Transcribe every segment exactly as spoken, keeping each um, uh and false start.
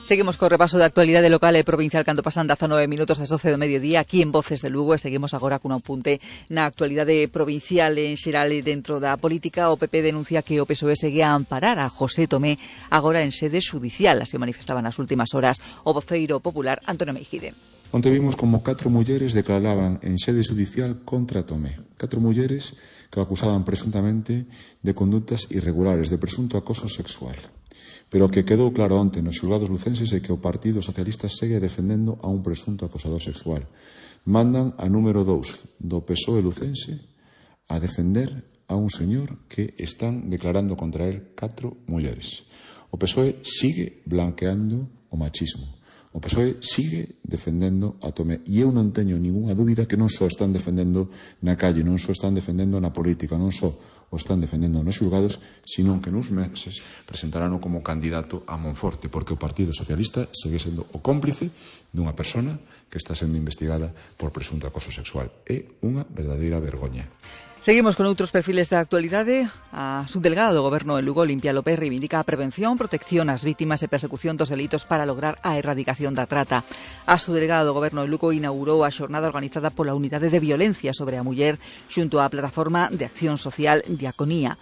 Seguimos co repaso da actualidade local e provincial cando pasan dezanove minutos das doce do mediodía aquí en Voces de Lugo, e seguimos agora cun apunte na actualidade provincial en xeral e dentro da política. O P P denuncia que o P S O E segue a amparar a José Tomé agora en sede judicial, así manifestaba nas últimas horas o voceiro popular Antonio Meijide. Onte vimos como catro mulleres declaraban en sede judicial contra Tomé. Catro mulleres que o acusaban presuntamente de conductas irregulares, de presunto acoso sexual. Pero o que quedou claro onte nos xulgados lucenses é que o Partido Socialista segue defendendo a un presunto acosador sexual. Mandan a número dous do P S O E lucense a defender a un señor que están declarando contra él catro mulleres. O P S O E sigue blanqueando o machismo. O P S O E sigue defendendo a Tomé. E eu non teño ningunha dúbida que non só están defendendo na calle, non só están defendendo na política, non só o están defendendo nos xulgados, sino que nuns meses presentarán como candidato a Monforte, porque o Partido Socialista segue sendo o cómplice dunha persona que está sendo investigada por presunto acoso sexual. É unha verdadeira vergoña. Seguimos con outros perfiles da actualidade. A subdelegada do Goberno en Lugo, Olimpia López, reivindica a prevención, protección ás vítimas e persecución dos delitos para lograr a erradicación da trata. A subdelegada do Goberno en Lugo inaugurou a xornada organizada pola Unidade de Violencia sobre a Muller xunto á Plataforma de Acción Social Diaconía.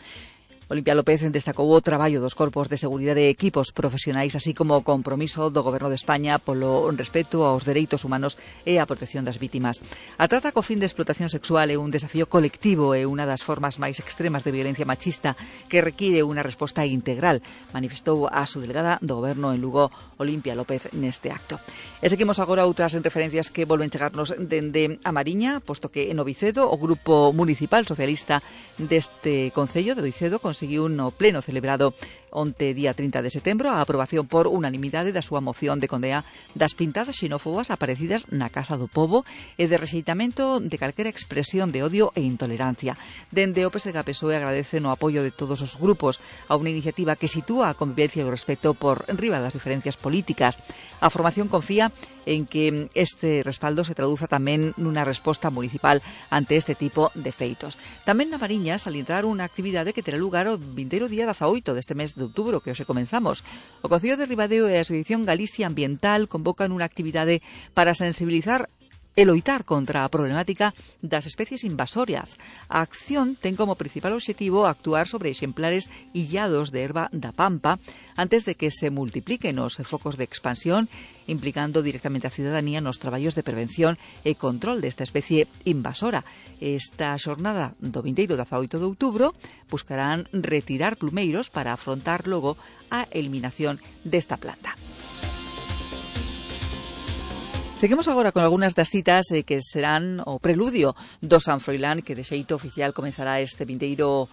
Olimpia López destacou o traballo dos corpos de seguridade e equipos profesionais, así como o compromiso do Goberno de España polo respeto aos dereitos humanos e a protección das vítimas. A trata co fin de explotación sexual é un desafío colectivo e unha das formas máis extremas de violencia machista que require unha resposta integral, manifestou a subdelegada do Goberno en Lugo, Olimpia López, neste acto. E seguimos agora outras referencias que volven chegarnos dende a Mariña, posto que en Ovicedo o Grupo Municipal Socialista deste Concello de Ovicedo conseguiu no pleno celebrado onte día trinta de setembro a aprobación por unanimidade da súa moción de condea das pintadas xenófobas aparecidas na Casa do Pobo e de rexeitamento de calquera expresión de odio e intolerancia. Dende o P S D G P S O E agradecen o apoio de todos os grupos a unha iniciativa que sitúa a convivencia e o respeto por riba das diferencias políticas. A formación confía en que este respaldo se traduza tamén nunha resposta municipal ante este tipo de feitos. Tamén na Mariña salientar unha actividade que terá lugar o vindeiro día dezaoito deste mes de outubro que hoxe comenzamos. O Concello de Ribadeo e a Asociación Galicia Ambiental convocan unha actividade para sensibilizar e loitar contra a problemática das especies invasorias. A acción ten como principal obxectivo actuar sobre exemplares illados de herba da pampa antes de que se multipliquen os focos de expansión, implicando directamente a cidadanía nos traballos de prevención e control desta especie invasora. Esta xornada do vindeiro dezaoito de outubro buscarán retirar plumeiros para afrontar logo a eliminación desta planta. Seguimos agora con algunhas das citas eh, que serán o preludio do San Froilán, que de xeito oficial comenzará este vindeiro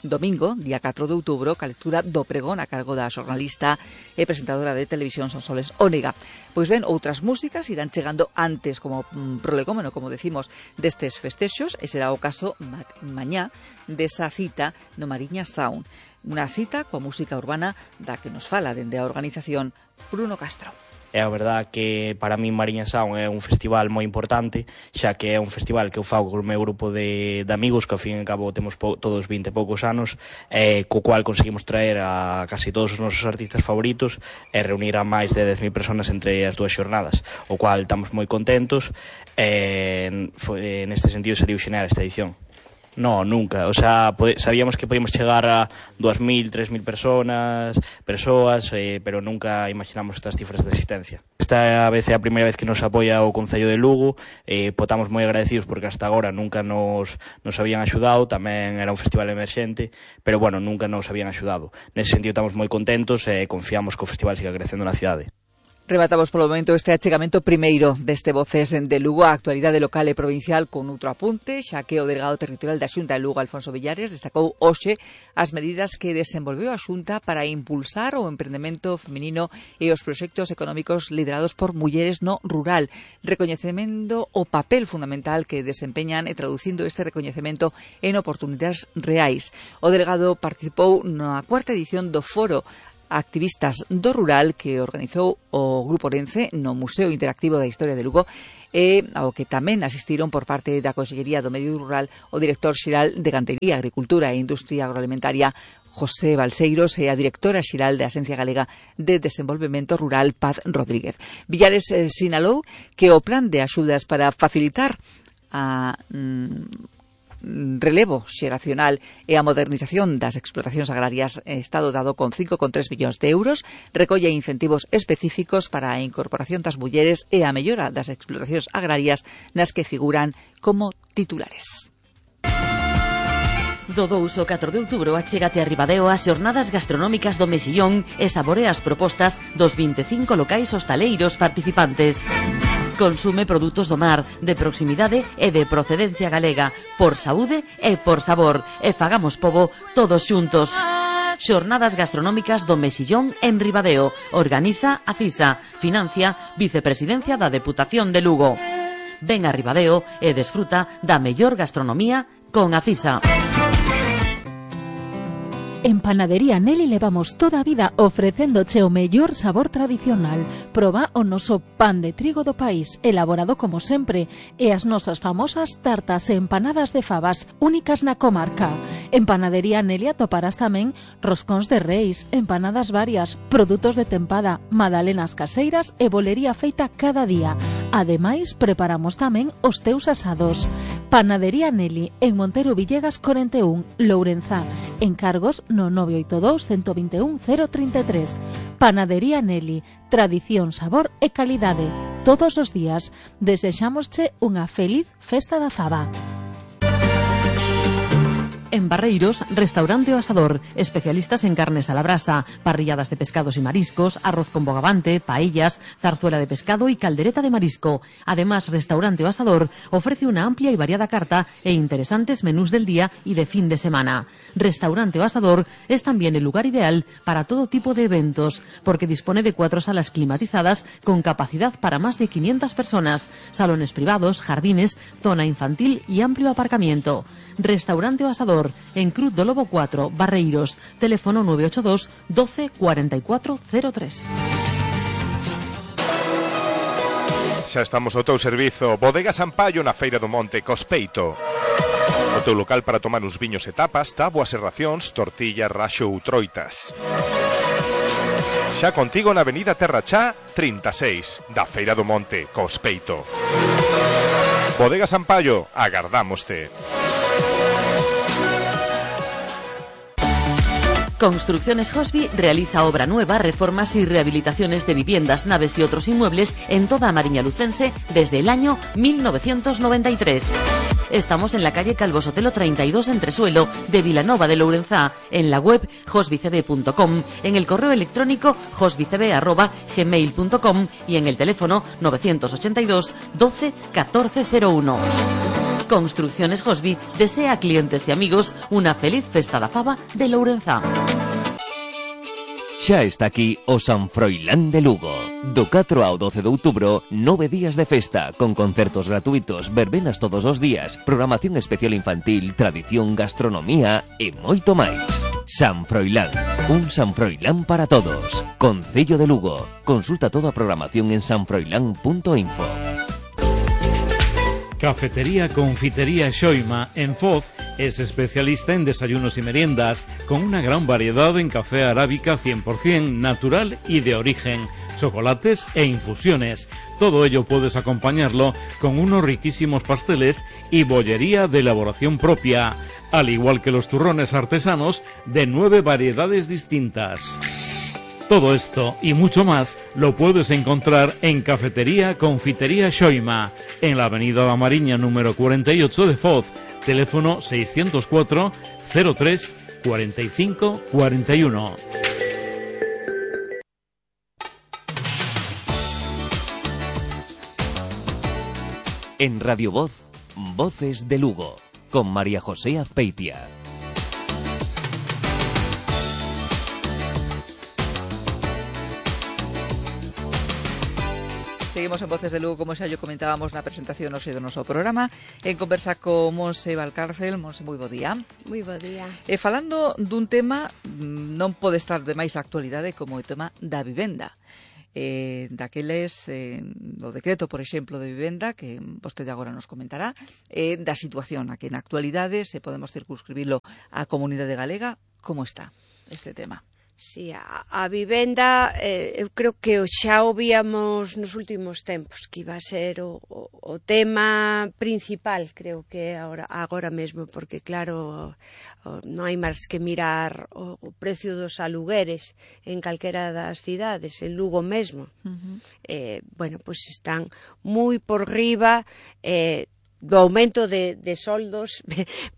domingo, día catro de outubro, ca lectura do pregón a cargo da xornalista e presentadora de televisión Sonsoles Ónega. Pois ben, outras músicas irán chegando antes como mm, prolegómeno, como decimos, destes festexos, e será o caso ma mañá desa cita no Mariña Sound. Unha cita coa música urbana da que nos fala dende a organización Bruno Castro. É a verdad que para mí Mariña Sound é un festival moi importante, xa que é un festival que eu fago con o meu grupo de, de amigos, que ao fin e ao cabo temos po, todos vinte e poucos anos, eh, co cual conseguimos traer a casi todos os nosos artistas favoritos e reunir a máis de dez mil personas entre as dúas xornadas, o cual estamos moi contentos e foi, neste sentido sería xenear esta edición. No, nunca, o sea, sabíamos que podíamos chegar a dúas mil, tres mil personas, persoas, eh, pero nunca imaginamos estas cifras de asistencia. Esta vez é a primeira vez que nos apoia o Concello de Lugo, eh, potamos moi agradecidos porque hasta agora nunca nos, nos habían axudado, tamén era un festival emerxente, pero bueno, nunca nos habían axudado. Nese sentido estamos moi contentos e confiamos que o festival siga crecendo na cidade. Rematamos polo momento este achegamento primeiro deste Voces de Lugo a actualidade local e provincial con outro apunte, xa que o delegado territorial da Xunta de Lugo, Alfonso Villares, destacou hoxe as medidas que desenvolveu a Xunta para impulsar o emprendemento feminino e os proxectos económicos liderados por mulleres no rural, recoñecemento o papel fundamental que desempeñan e traducindo este recoñecemento en oportunidades reais. O delegado participou na cuarta edición do foro activistas do rural que organizou o Grupo Orense no Museo Interactivo da Historia de Lugo, e ao que tamén asistiron por parte da Consellería do Medio Rural o director xeral de Gantería, Agricultura e Industria Agroalimentaria, José Balseiros, e a directora xeral da Axencia Galega de Desenvolvemento Rural, Paz Rodríguez. Villares eh, sinalou que o plan de axudas para facilitar a mm, relevo xeracional e a modernización das explotacións agrarias está dotado con cinco coma tres millóns de euros, recolle incentivos específicos para a incorporación das mulleres e a mellora das explotacións agrarias nas que figuran como titulares. Do dous ao catro de outubro achégate a Ribadeo as xornadas gastronómicas do Mexillón e saborea as propostas dos vinte e cinco locais hostaleiros participantes. Consume produtos do mar, de proximidade e de procedencia galega, por saúde e por sabor, e fagamos pobo todos xuntos. Xornadas gastronómicas do Mexillón en Ribadeo. Organiza a CISA. Financia Vicepresidencia da Deputación de Lugo. Ven a Ribadeo e desfruta da mellor gastronomía con a CISA. En Panadería Nelly levamos toda a vida ofrecéndoche o mellor sabor tradicional. Proba o noso pan de trigo do país, elaborado como sempre, e as nosas famosas tartas e empanadas de fabas, únicas na comarca. En Panadería Nelly atoparás tamén roscóns de reis, empanadas varias, produtos de tempada, magdalenas caseiras e bolería feita cada día. Ademais, preparamos tamén os teus asados. Panadería Nelly, en Montero Villegas cuarenta e un, Lourenzá. Encargos no nove oito dous, uno dos un, cero treinta e tres. Panadería Nelly, tradición, sabor e calidade. Todos os días desexámosche unha feliz festa da faba. En Barreiros, Restaurante O Asador, especialistas en carnes a la brasa, parrilladas de pescados y mariscos, arroz con bogavante, paellas, zarzuela de pescado y caldereta de marisco. Además, Restaurante O Asador ofrece una amplia y variada carta e interesantes menús del día y de fin de semana. Restaurante O Asador es también el lugar ideal para todo tipo de eventos, porque dispone de cuatro salas climatizadas con capacidad para más de quinientas personas, salones privados, jardines, zona infantil y amplio aparcamiento. Restaurante O Asador, en Cruz do Lobo cuatro, Barreiros, teléfono nueve ocho dos, doce, cuarenta y cuatro cero tres. Xa estamos ao teu servizo. Bodega Sampaio na Feira do Monte, Cospeito. O teu local para tomar uns viños e tapas, táboas e racións, tortillas, raxo ou troitas. Xa contigo na Avenida Terra Chá trinta e seis, da Feira do Monte, Cospeito. Bodega Sampaio, agardámoste. Construcciones Hosby realiza obra nueva, reformas y rehabilitaciones de viviendas, naves y otros inmuebles en toda Mariña Lucense desde el año mil novecientos noventa y tres. Estamos en la calle Calvo Sotelo treinta y dos en Tresuelo de Vilanova de Lourenzá, en la web hosbycb punto com, en el correo electrónico hosbycb arroba gmail punto com y en el teléfono novecientos ochenta y dos, doce, catorce cero uno. Construcciones Hosby desea a clientes y amigos una feliz festa da faba de Lourenzá. Xa está aquí o San Froilán de Lugo. Do catro ao doce de outubro, nove días de festa, con concertos gratuitos, verbenas todos os días, programación especial infantil, tradición, gastronomía e moito máis. San Froilán, un San Froilán para todos. Concello de Lugo. Consulta toda a programación en sanfroilán punto info. Cafetería Confitería Xoima en Foz es especialista en desayunos y meriendas, con una gran variedad en café arábica cien por ciento natural y de origen, chocolates e infusiones. Todo ello puedes acompañarlo con unos riquísimos pasteles y bollería de elaboración propia, al igual que los turrones artesanos de nueve variedades distintas. Todo esto y mucho más lo puedes encontrar en Cafetería Confitería Xoima, en la Avenida da Mariña número cuarenta y ocho de Foz, teléfono seiscientos cuatro, cero tres, cuarenta y cinco, cuarenta y uno. En Radio Voz, Voces de Lugo, con María José Azpeitia. Seguimos en Voces de Lugo, como xa yo comentábamos na presentación hoxe do noso programa, en conversa con Monse Valcárcel. Monse, moi bo día. Moi bo día. E falando dun tema, non pode estar de máis actualidade como o tema da vivenda. Eh, daqueles, eh, o decreto, por exemplo, de vivenda, que vostede agora nos comentará, eh, da situación a que na actualidade se podemos circunscribilo á comunidade galega. Como está este tema? Sí, a, a vivenda, eh, eu creo que xa o víamos nos últimos tempos, que iba a ser o, o, o tema principal, creo que agora, agora mesmo, porque claro, o, non hai máis que mirar o, o precio dos alugueres en calquera das cidades, en Lugo mesmo. Uh-huh. eh, bueno, pois pues están moi por riba, eh, do aumento de, de soldos,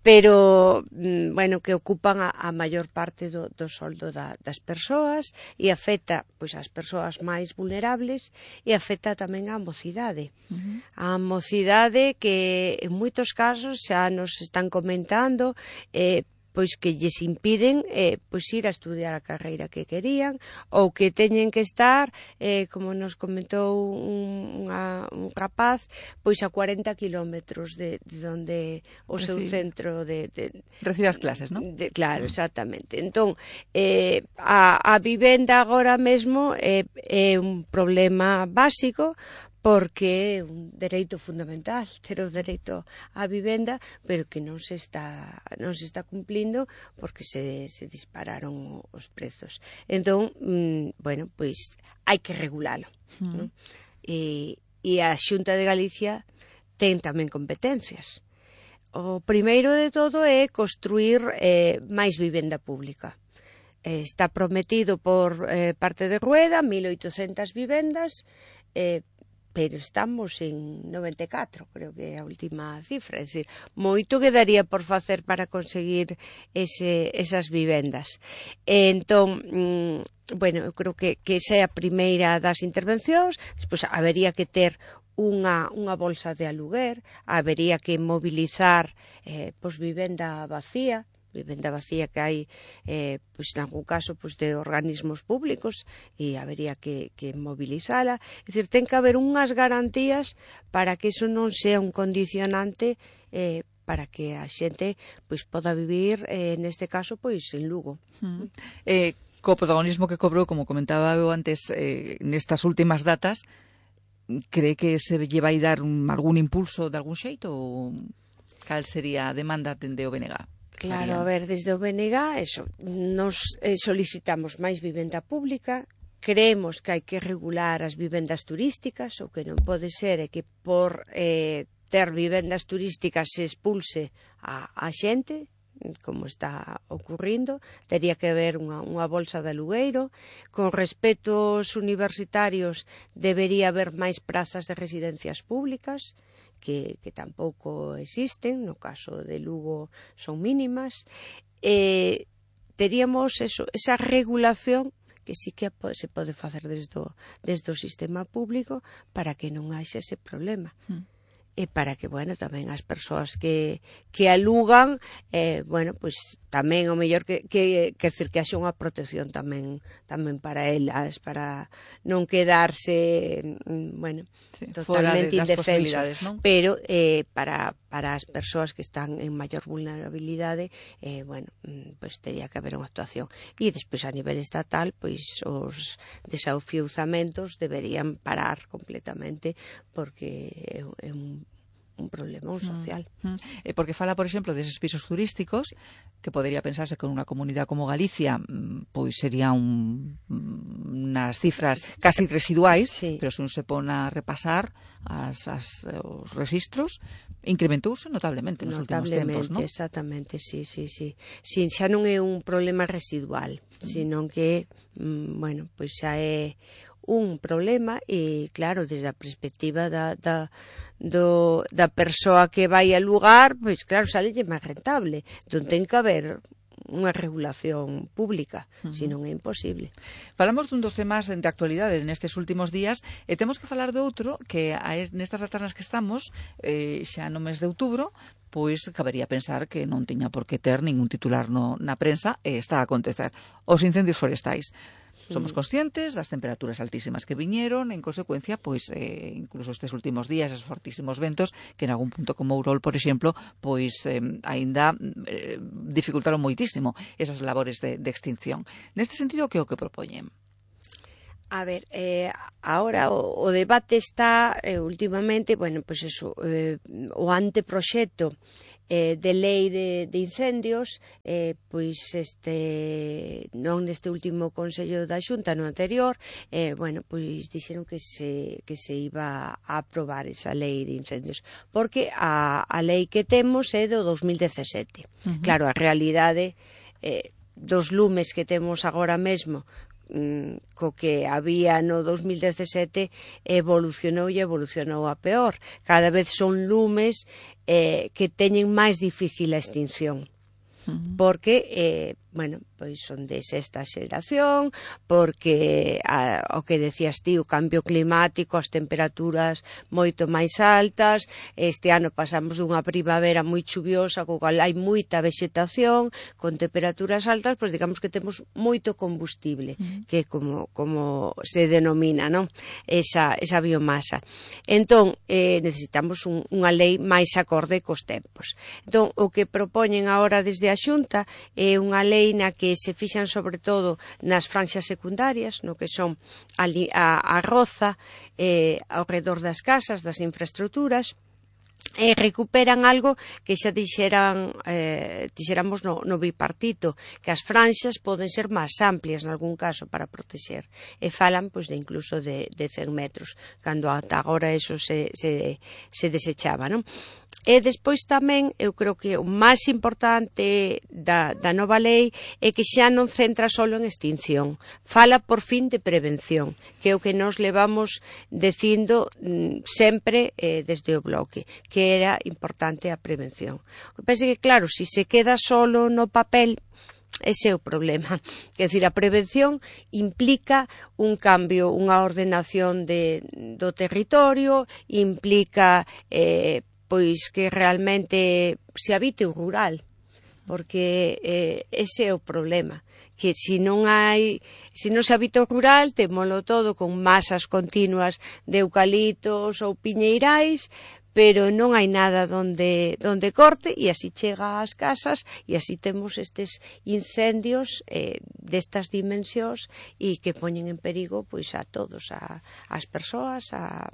pero, bueno, que ocupan a, a maior parte do, do soldo da, das persoas e afecta, pois, as persoas máis vulnerables e afecta tamén á mocidade. Uh-huh. A mocidade que, en moitos casos, xa nos están comentando, eh, pois que lles impiden eh, pois ir a estudiar a carreira que querían ou que teñen que estar, eh, como nos comentou un, unha, un rapaz, pois a cuarenta kilómetros de, de donde o seu sí. centro de, de... Recibe as clases, non? De, claro, exactamente. Entón, eh, a, a vivenda agora mesmo é, é un problema básico, porque é un dereito fundamental, ter o dereito á vivenda, pero que non se está non se está cumplindo porque se, se dispararon os prezos. Entón, mmm, bueno, pois hai que regulalo. Mm. ¿No? E, e a Xunta de Galicia ten tamén competencias. O primeiro de todo é construir eh, máis vivenda pública. Eh, está prometido por eh, parte de Rueda mil oitocentas vivendas, eh, pero estamos en noventa e catro, creo que é a última cifra, é dicir, moito quedaría por facer para conseguir ese, esas vivendas. Entón, mmm, bueno, eu creo que, que esa é a primeira das intervencións. Despois habería que ter unha, unha bolsa de aluguer, habería que mobilizar eh, pois vivenda vacía, vivenda vacía que hai, eh, pois, en algún caso, pois, de organismos públicos, e habería que, que mobilizala. É dicir, ten que haber unhas garantías para que iso non sea un condicionante eh, para que a xente pois poda vivir, eh, neste caso, pois en Lugo. Mm. Eh, co protagonismo que cobrou, como comentaba eu antes, eh, nestas últimas datas, cree que se lle vai dar un, algún impulso de algún xeito, ou cal sería a demanda dende o B N G? Claro, a ver, desde o B N G, eso, nos eh, solicitamos máis vivenda pública, creemos que hai que regular as vivendas turísticas, o que non pode ser é que por eh, ter vivendas turísticas se expulse a, a xente, como está ocurrindo. Tería que haber unha, unha bolsa de alugueiro. Con respecto aos universitarios, debería haber máis prazas de residencias públicas, que, que tampouco existen, no caso de Lugo son mínimas. Eh, teríamos eso, esa regulación que sí que se pode facer desde o, desde o sistema público para que non haxe ese problema. Mm. E para que, bueno, tamén as persoas que, que alugan, eh, bueno, pois tamén o mellor que, que, que, que haxe unha protección tamén tamén para elas, para non quedarse, bueno, sí, totalmente indefensos, ¿no? Pero eh, para, para as persoas que están en maior vulnerabilidade, eh, bueno, pois teria que haber unha actuación. E despois a nivel estatal, pois os desafiuzamentos deberían parar completamente, porque é, é un un problema social. Mm, mm. Eh, porque fala, por exemplo, deses pisos turísticos, que podería pensarse que unha comunidade como Galicia pois sería un, unas cifras casi residuais, sí. Pero se un se pon a repasar as, as, os registros, incrementouse notablemente nos notablemente, últimos tempos, non? Exactamente, sí, sí, sí. Sí, xa non é un problema residual, mm. sino que, mm, bueno, pois xa é un problema e, claro, desde a perspectiva da, da, do, da persoa que vai a lugar, pois, claro, sale máis rentable. Entón, ten que haber unha regulación pública, uh-huh. senón é imposible. Falamos dun dos temas de actualidade nestes últimos días e temos que falar de outro que nestas datas nas que estamos, eh, xa no mes de outubro, pois cabería pensar que non tiña por que ter ningún titular no, na prensa e está a acontecer. Os incendios forestais. Somos conscientes das temperaturas altísimas que viñeron, en consecuencia, pois eh, incluso estes últimos días, esos fortísimos ventos que en algún punto como Ourol, por exemplo, pois eh, aínda eh, dificultaron moitísimo esas labores de, de extinción. Neste sentido, que é o que propoñen? A ver, eh, ahora o, o debate está eh, últimamente, bueno, pues eso, eh, o anteproxecto eh, de lei de, de incendios, eh, pois este, non neste último Consello da Xunta, no anterior, eh, bueno, pois dixeron que se, que se iba a aprobar esa lei de incendios, porque a, a lei que temos é do dos mil dezasete. Uh-huh. Claro, a realidade eh, dos lumes que temos agora mesmo, co que había no dos mil dezasete, evolucionou e evolucionou a peor. Cada vez son lumes eh, que teñen máis difícil a extinción. Uh-huh. Porque, eh, bueno, pois son de sexta xeración, porque a, o que decías ti, o cambio climático, as temperaturas moito máis altas, este ano pasamos dunha primavera moi chuviosa, co cal hai moita vexetación, con temperaturas altas, pois digamos que temos moito combustible, uh-huh. que como, como se denomina, non? Esa, esa biomasa. Entón, eh, necesitamos un, unha lei máis acorde cos tempos. Entón, o que propoñen agora desde a Xunta é unha lei na que se fixan sobre todo nas franxas secundarias, no que son a, a, a roza eh, ao redor das casas, das infraestructuras, e recuperan algo que xa dixeran, eh, dixéramos no, no bipartito, que as franxas poden ser máis amplias en algún caso para protexer, e falan pois de incluso de, de cen metros, cando ata agora eso se, se, se desechaba, non? E despois tamén, eu creo que o máis importante da, da nova lei é que xa non centra solo en extinción, fala por fin de prevención, que é o que nos levamos dicindo mm, sempre eh, desde o bloque, que era importante a prevención. O que pasa que, claro, se si se queda solo no papel, ese é o problema. Quer dizer, a prevención implica un cambio, unha ordenación de, do territorio, implica eh, pois que realmente se habite o rural, porque eh, ese é o problema, que se non hai, se non se habita o rural, temolo todo con masas continuas de eucaliptos ou piñeirais, pero non hai nada donde, donde corte, e así chega ás casas, e así temos estes incendios eh, destas dimensións e que poñen en perigo pois a todos, a, as persoas, a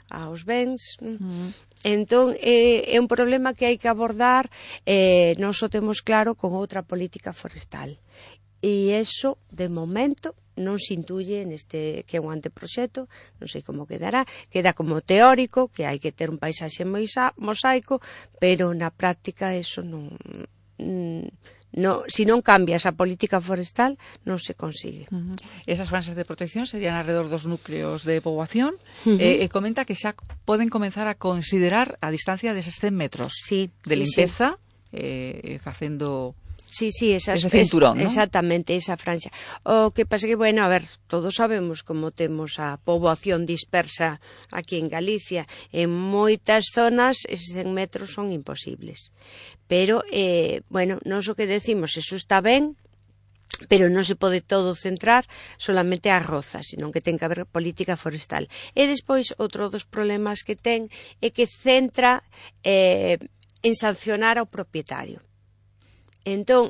aos bens. Uh-huh. Entón, é, é un problema que hai que abordar, eh, non só temos claro con outra política forestal. E iso, de momento, non se intuye neste que é un anteproxecto, non sei como quedará, queda como teórico, que hai que ter un paisaxe mosaico, pero na práctica eso non... No, si non cambia esa política forestal, non se consigue. Uh-huh. Esas franxas de protección serían alrededor dos núcleos de poboación. Uh-huh. eh, e comenta que xa poden comenzar a considerar a distancia deses cen metros sí, de sí, limpeza, sí. Eh, facendo... Sí, sí, esas, ese cinturón, es, ¿no? Exactamente, esa franxa. O que pasa que, bueno, a ver, todos sabemos como temos a poboación dispersa aquí en Galicia. En moitas zonas eses cen metros son imposibles. Pero, eh, bueno, non o que decimos, eso está ben, pero non se pode todo centrar solamente a roza, sino que ten que haber política forestal. E despois, outro dos problemas que ten é que centra eh, en sancionar ao propietario. Entón,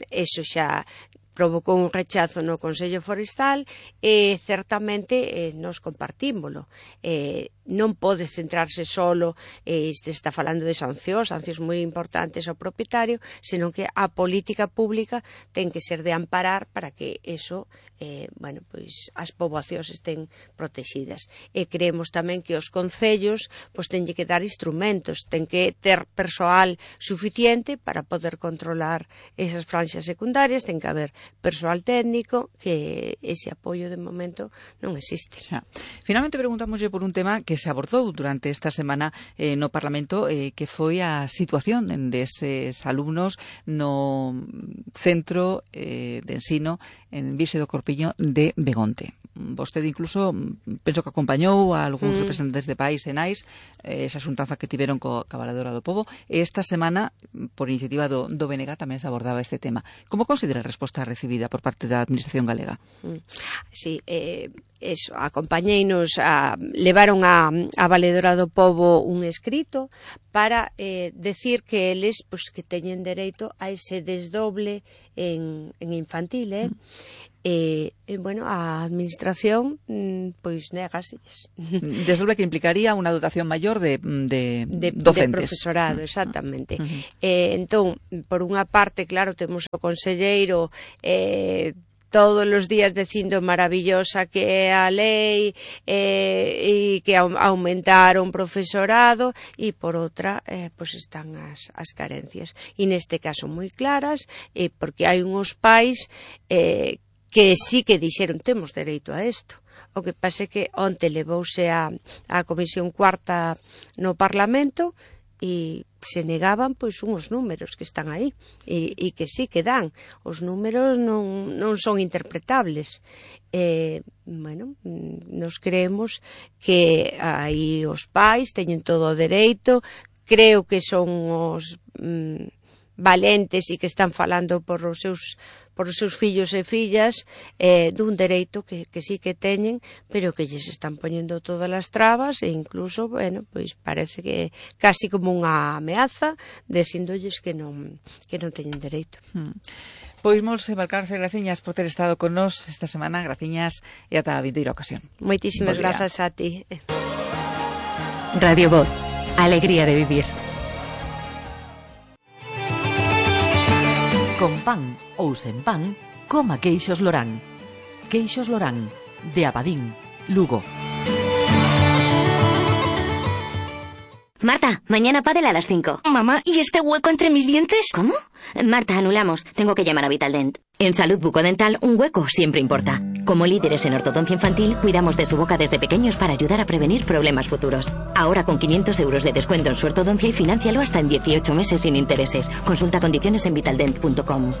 eso xa provocou un rechazo no Consello Forestal e certamente eh, nos compartímolo. Eh, non pode centrarse solo, eh, este está falando de sancións, sancións moi importantes ao propietario, senón que a política pública ten que ser de amparar para que eso, eh, bueno, pois as poboacións estén protegidas. E creemos tamén que os concellos pois teñen que dar instrumentos, ten que ter persoal suficiente para poder controlar esas franxas secundarias, ten que haber persoal técnico, que ese apoio de momento non existe. Xa. Finalmente preguntámoslle por un tema que se abordou durante esta semana eh, no Parlamento, eh, que foi a situación deses alumnos no centro eh, de ensino en Virxe do Corpiño de Begonte. vostede incluso penso que acompañou a algúns Mm. representantes de país e nais eh, esa xuntanza que tiveron co Valedora do Pobo, e esta semana por iniciativa do, do B N G tamén se abordaba este tema. Como considera a resposta recibida por parte da Administración galega? Mm. Sí, eh, eso, acompañeinos, a, levaron a, a Valedora do Pobo un escrito para eh, decir que eles pues, que teñen dereito a ese desdoble en, en infantil, eh? Mm. E, e, bueno, a administración pois negáselles. Desdoble que implicaría unha dotación maior de, de, de docentes. De profesorado, exactamente. Uh -huh. eh, entón, por unha parte, claro, temos o conselleiro eh, todos os días dicindo maravillosa que é a lei eh, e que aumentaron profesorado, e por outra eh, pues están as, as carencias, e neste caso moi claras, eh, porque hai uns pais eh, que sí que dixeron temos dereito a isto. O que pasa é que onte levouse a, a Comisión Cuarta no Parlamento e se negaban pois uns números que están aí e, e que sí que dan. Os números non, non son interpretables. Eh, bueno, nos creemos que aí os pais teñen todo o dereito, creo que son os mm, valentes e que están falando por os seus por os seus fillos e fillas eh, dun dereito que, que sí que teñen, pero que lles están poñendo todas as trabas e incluso, bueno, pois parece que casi como unha ameaza dicindolles que non que non teñen dereito. Hmm. Pois Monse Valcarce, graciñas por ter estado con nos esta semana, graciñas e ata a vindeira ocasión. Moitísimas grazas a ti. Radio Voz, alegría de vivir. Con pan ou sen pan, coma queixos Lorán. Queixos Lorán, de Abadín, Lugo. Marta, mañana pádel a las cinco. Mamá, ¿y este hueco entre mis dientes? ¿Cómo? Marta, anulamos. Tengo que llamar a Vitaldent. En Salud Bucodental, un hueco siempre importa. Como líderes en ortodoncia infantil, cuidamos de su boca desde pequeños para ayudar a prevenir problemas futuros. Ahora con quinientos euros de descuento en su ortodoncia y financialo hasta en dieciocho meses sin intereses. Consulta condiciones en vitaldent punto com.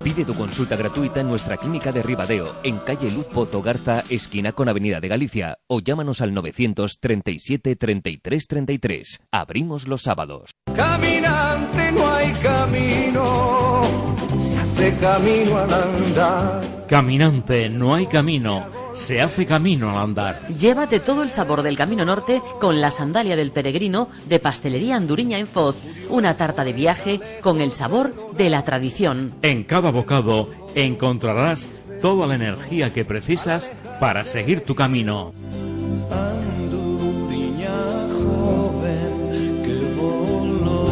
Pide tu consulta gratuita en nuestra clínica de Ribadeo, en calle Luz Pozo Garza, esquina con Avenida de Galicia, o llámanos al novecientos treinta y siete treinta y tres treinta y tres. Abrimos los sábados. Caminante no hay camino, se hace camino al andar. Caminante no hay camino, se hace camino al andar. Llévate todo el sabor del Camino Norte con la sandalia del peregrino de Pastelería Anduriña en Foz. Una tarta de viaje con el sabor de la tradición. En cada bocado encontrarás toda la energía que precisas para seguir tu camino. Anduriña joven que voló.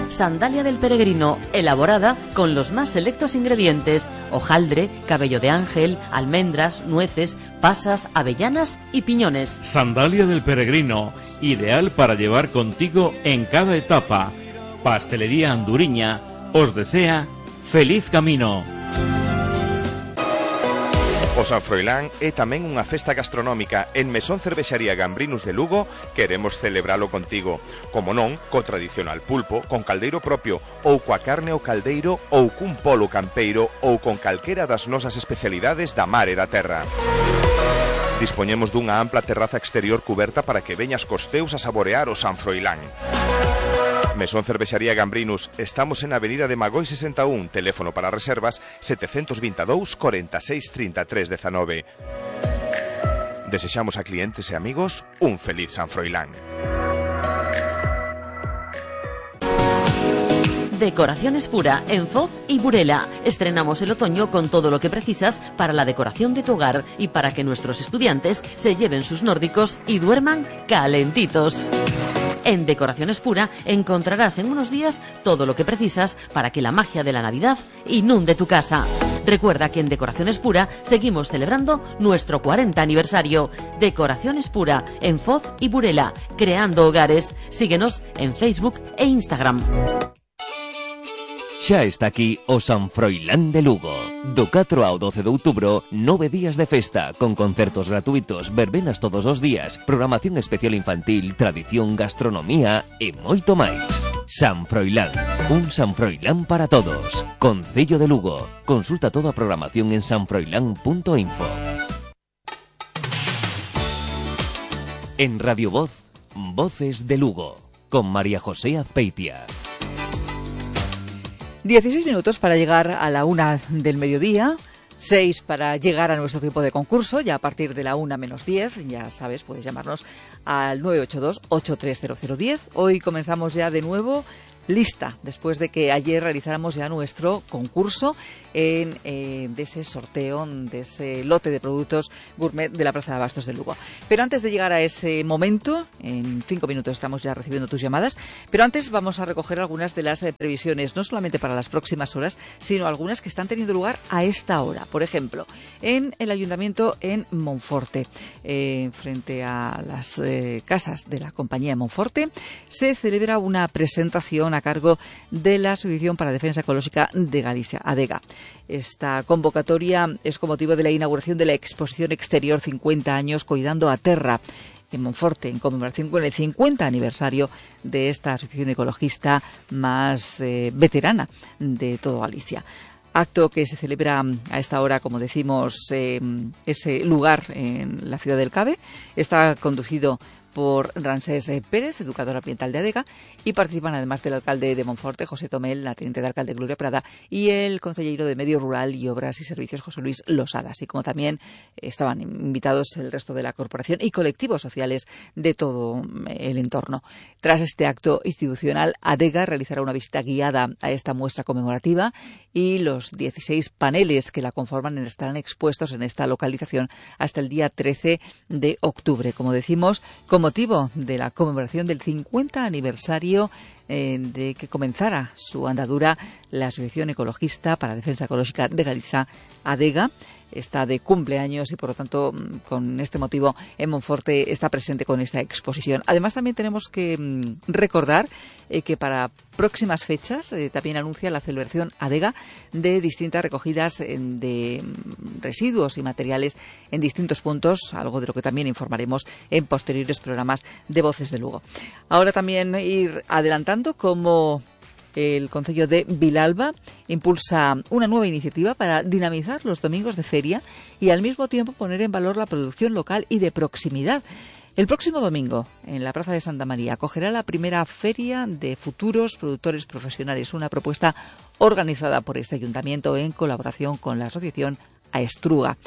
Sandalia del peregrino, elaborada con los más selectos ingredientes: hojaldre, cabello de ángel, almendras, nueces, pasas, avellanas y piñones. Sandalia del peregrino, ideal para llevar contigo en cada etapa. Pastelería Anduriña os desea feliz camino. O San Froilán é tamén unha festa gastronómica. En Mesón Cervexaría Gambrinus de Lugo queremos celebralo contigo. Como non, co tradicional pulpo, con caldeiro propio, ou coa carne ao caldeiro, ou cun polo campeiro, ou con calquera das nosas especialidades da mar e da terra. Dispoñemos dunha ampla terraza exterior cuberta para que veñas cos teus a saborear o San Froilán. Mesón Cervexaría Gambrinus, estamos en Avenida de Magoi sesenta e un, teléfono para reservas setecientos veintidós, cuarenta y seis, treinta y tres, diecinueve. Desexamos a clientes e amigos un feliz San Froilán. Decoraciones Pura en Foz y Burela. Estrenamos el otoño con todo lo que precisas para la decoración de tu hogar y para que nuestros estudiantes se lleven sus nórdicos y duerman calentitos. En Decoraciones Pura encontrarás en unos días todo lo que precisas para que la magia de la Navidad inunde tu casa. Recuerda que en Decoraciones Pura seguimos celebrando nuestro cuarenta aniversario. Decoraciones Pura en Foz y Burela, creando hogares. Síguenos en Facebook e Instagram. Xa está aquí o San Froilán de Lugo. Do catro ao doce de outubro, nove días de festa, con concertos gratuitos, verbenas todos os días, programación especial infantil, tradición, gastronomía e moito máis. San Froilán, un San Froilán para todos. Concello de Lugo. Consulta toda a programación en san froilán punto info. En Radio Voz, Voces de Lugo, con María José Azpeitia. dieciséis minutos para llegar a la una del mediodía, seis para llegar a nuestro tiempo de concurso, ya a partir de la una menos diez, ya sabes, puedes llamarnos al nueve ocho dos, ocho tres cero cero, uno cero. Hoy comenzamos ya de nuevo lista, después de que ayer realizáramos ya nuestro concurso en, eh, de ese sorteo, de ese lote de productos gourmet de la Plaza de Abastos de Lugo. Pero antes de llegar a ese momento, en cinco minutos estamos ya recibiendo tus llamadas, pero antes vamos a recoger algunas de las eh, previsiones, no solamente para las próximas horas, sino algunas que están teniendo lugar a esta hora. Por ejemplo, en el Ayuntamiento en Monforte, eh, frente a las eh, casas de la compañía de Monforte, se celebra una presentación a cargo de la Asociación para Defensa Ecológica de Galicia, ADEGA. Esta convocatoria es con motivo de la inauguración de la exposición exterior cincuenta años Coidando a Terra en Monforte, en conmemoración con el cincuenta aniversario de esta asociación ecologista más eh, veterana de todo Galicia. Acto que se celebra a esta hora, como decimos, eh, ese lugar en la ciudad del Cabe. Está conducido por Ramsés Pérez, educador ambiental de ADEGA, y participan además del alcalde de Monforte, José Tomel, la teniente de alcalde Gloria Prada, y el consejero de Medio Rural y Obras y Servicios, José Luis Losada, así como también estaban invitados el resto de la corporación y colectivos sociales de todo el entorno. Tras este acto institucional, ADEGA realizará una visita guiada a esta muestra conmemorativa y los dieciséis paneles que la conforman estarán expuestos en esta localización hasta el día trece de octubre. Como decimos, como motivo de la conmemoración del cincuenta aniversario eh, de que comenzara su andadura la Asociación Ecologista para Defensa Ecológica de Galicia, ADEGA. Está de cumpleaños y, por lo tanto, con este motivo, en Monforte está presente con esta exposición. Además, también tenemos que mm, recordar eh, que para próximas fechas eh, también anuncia la celebración ADEGA de distintas recogidas eh, de mm, residuos y materiales en distintos puntos, algo de lo que también informaremos en posteriores programas de Voces de Lugo. Ahora también ir adelantando como el Concello de Vilalba impulsa una nueva iniciativa para dinamizar los domingos de feria y al mismo tiempo poner en valor la producción local y de proximidad. El próximo domingo, en la Plaza de Santa María, acogerá la primera feria de futuros productores profesionales, una propuesta organizada por este ayuntamiento en colaboración con la asociación Aestruga.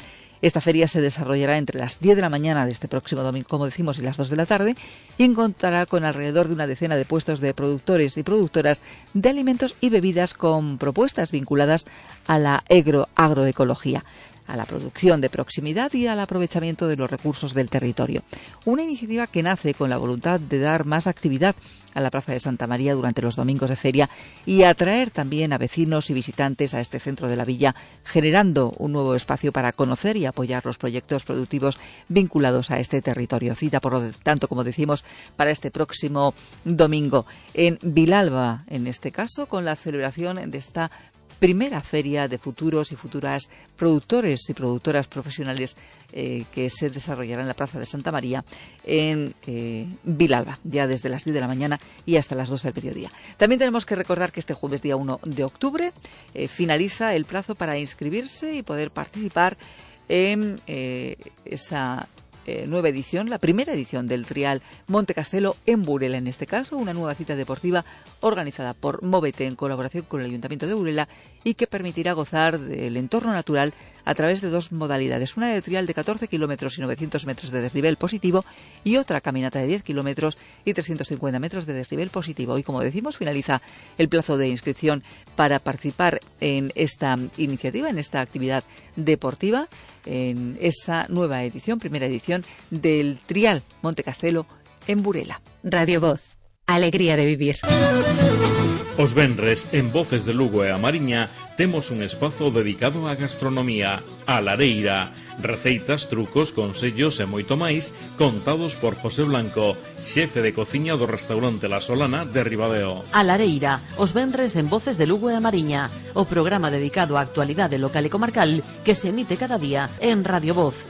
Esta feria se desarrollará entre las diez de la mañana de este próximo domingo, como decimos, y las dos de la tarde, y contará con alrededor de una decena de puestos de productores y productoras de alimentos y bebidas con propuestas vinculadas a la agro agroecología, a la producción de proximidad y al aprovechamiento de los recursos del territorio. Una iniciativa que nace con la voluntad de dar más actividad a la Plaza de Santa María durante los domingos de feria y atraer también a vecinos y visitantes a este centro de la villa, generando un nuevo espacio para conocer y apoyar los proyectos productivos vinculados a este territorio. Cita, por lo tanto, como decimos, para este próximo domingo en Vilalba, en este caso, con la celebración de esta primera feria de futuros y futuras productores y productoras profesionales eh, que se desarrollará en la Plaza de Santa María en eh, Vilalba, ya desde las diez de la mañana y hasta las dos del mediodía. También tenemos que recordar que este jueves día uno de octubre eh, finaliza el plazo para inscribirse y poder participar en eh, esa Eh, nueva edición, la primera edición del Trial Monte Castelo en Burela, en este caso, una nueva cita deportiva organizada por Móvete en colaboración con el Ayuntamiento de Burela y que permitirá gozar del entorno natural a través de dos modalidades, una de trial de catorce kilómetros y novecientos metros de desnivel positivo y otra caminata de diez kilómetros y trescientos cincuenta metros de desnivel positivo. Y como decimos, finaliza el plazo de inscripción para participar en esta iniciativa, en esta actividad deportiva, en esa nueva edición, primera edición del Trial Monte Castelo en Burela. Radio Voz, alegría de vivir. Os venres, en Voces de Lugo e a Mariña, temos un espazo dedicado á gastronomía, a Lareira, Receitas, trucos, consellos e moito máis contados por José Blanco, xefe de cociña do restaurante La Solana de Ribadeo. A Lareira, os venres en Voces de Lugo e a Mariña, o programa dedicado á actualidade local e comarcal que se emite cada día en Radio Voz.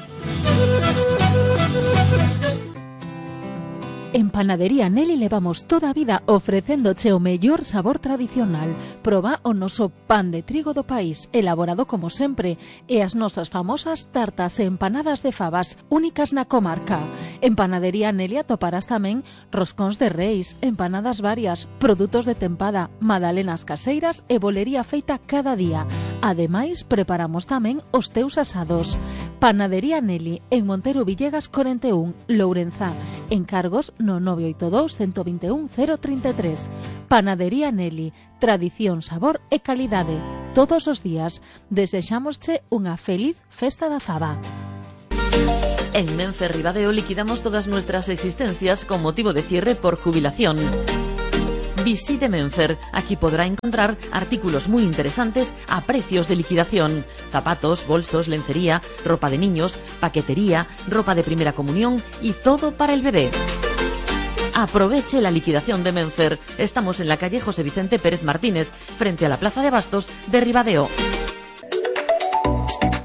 En Panadería Nelly levamos toda a vida ofrecéndoche o mellor sabor tradicional. Proba o noso pan de trigo do país, elaborado como sempre, e as nosas famosas tartas e empanadas de fabas, únicas na comarca. En Panadería Nelly atoparás tamén roscóns de reis, empanadas varias, produtos de tempada, magdalenas caseiras e bolería feita cada día. Ademais, preparamos tamén os teus asados. Panadería Nelly, en Montero Villegas cuarenta y uno, Lourenzá. Encargos no nove oito dous, uno dos uno, cero treinta e tres. Panadería Nelly, tradición, sabor e calidade. Todos os días desexámosche unha feliz festa da faba. En Menfer Ribadeo liquidamos todas nuestras existencias con motivo de cierre por jubilación. Visite Menfer, aquí podrá encontrar artículos muy interesantes a precios de liquidación. Zapatos, bolsos, lencería, ropa de niños, paquetería, ropa de primera comunión y todo para el bebé. Aproveche la liquidación de Menfer. Estamos en la calle José Vicente Pérez Martínez, frente a la Plaza de Bastos de Ribadeo.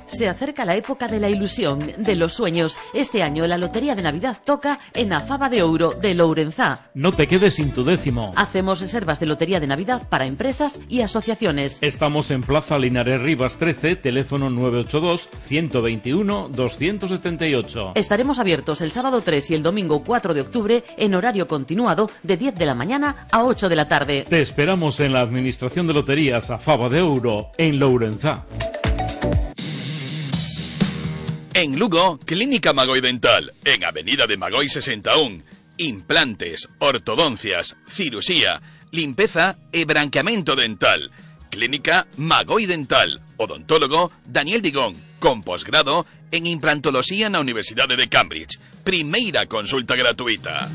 Se acerca la época de la ilusión, de los sueños. Este año la Lotería de Navidad toca en a Faba de Ouro de Lourenzá. No te quedes sin tu décimo. Hacemos reservas de Lotería de Navidad para empresas y asociaciones. Estamos en Plaza Linares Rivas trece, teléfono nueve ocho dos, uno dos uno, dos siete ocho. Estaremos abiertos el sábado tres y el domingo cuatro de octubre en horario continuado de diez de la mañana a ocho de la tarde. Te esperamos en la Administración de Loterías a Faba de Ouro, en Lourenzá. En Lugo, Clínica Magoi Dental, en Avenida de Magoi sesenta y uno. Implantes, ortodoncias, cirusía, limpeza e branqueamento dental. Clínica Magoi Dental. Odontólogo Daniel Digón, con posgrado en implantología na Universidade de Cambridge. Primeira consulta gratuita.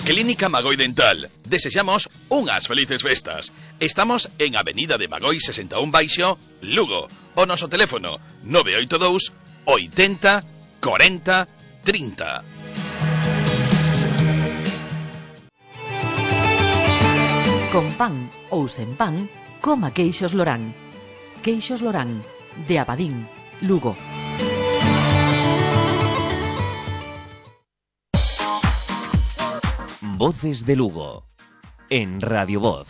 Clínica Magoi Dental. Desexamos unhas felices festas. Estamos en Avenida de Magoi sesenta e uno Baixo, Lugo. O noso teléfono nove oito dous, oitenta, cuarenta, trinta. Con pan ou sen pan, coma queixos Lorán. Queixos Lorán, de Abadín, Lugo. Voces de Lugo, en Radio Voz.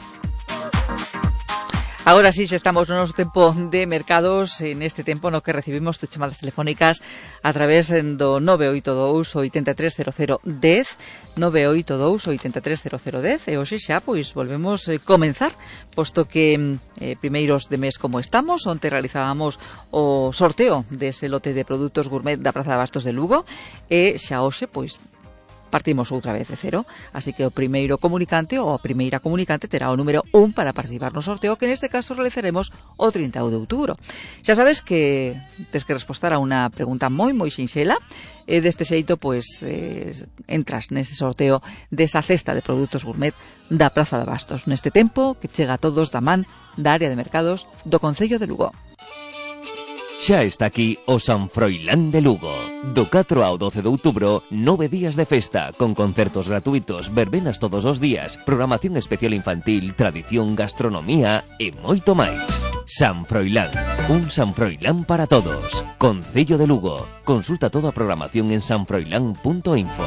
Agora sí, xa estamos no noso tempo de mercados, en este tempo no que recibimos tus chamadas telefónicas a través do nove oito dous, oitenta e tres cero cero dez, nove oito dous, oitenta e tres cero cero dez, e hoxe xa, pois, volvemos a comenzar, posto que eh, primeiros de mes como estamos, onte realizábamos o sorteo dese lote de produtos gourmet da Praza de Bastos de Lugo, e xa hoxe, pois, partimos outra vez de cero, así que o primeiro comunicante ou a primeira comunicante terá o número un para participar no sorteo, que neste caso realizaremos o trinta de outubro. Xa sabes que tes que respostar a unha pregunta moi moi sinxela, e deste xeito pois eh, entras nese sorteo desa cesta de produtos gourmet da Praza de Bastos, neste tempo que chega a todos da man da área de mercados do Concello de Lugo. Xa está aquí o San Froilán de Lugo. Do catro ao doce de outubro, nove días de festa, con concertos gratuitos, verbenas todos os días, programación especial infantil, tradición, gastronomía e moito máis. San Froilán, un San Froilán para todos. Concello de Lugo. Consulta toda a programación en san froilán punto info.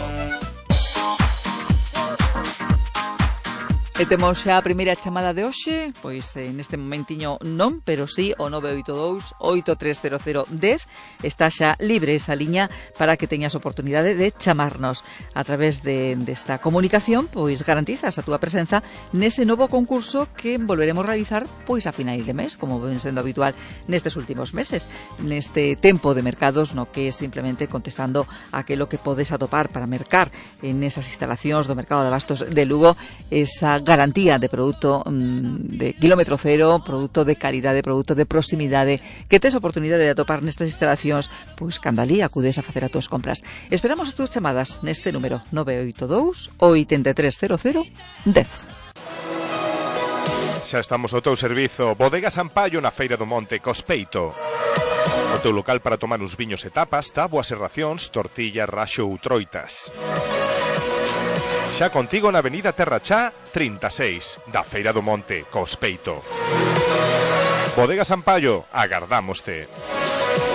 E temos xa a primeira chamada de hoxe, pois eh, neste momentiño non, pero sí o nove oito dous, oito tres cero cero dez, está xa libre esa liña para que teñas oportunidade de chamarnos. A través de desta comunicación, pois garantizas a túa presenza nese novo concurso que volveremos realizar pois a finais de mes, como ven sendo habitual nestes últimos meses, neste tempo de mercados no que é simplemente contestando aquilo que podes atopar para mercar en esas instalacións do mercado de abastos de Lugo, esa garantía de produto mmm, de kilómetro cero, produto de calidade, produto de proximidade, que tes oportunidade de atopar nestas instalacións, pois cando ali acudes a facer as túas compras. Esperamos as túas chamadas neste número nove oito dous, oitenta e tres cero cero dez. Xa estamos ao teu servizo. Bodega Sampaio na Feira do Monte Cospeito. O teu local para tomar uns viños e tapas, táboas e racións, tortillas, raxo ou troitas. Xa contigo na avenida Terra Chá trinta e seis, da Feira do Monte, Cospeito. Bodega Sampaio, agardámoste.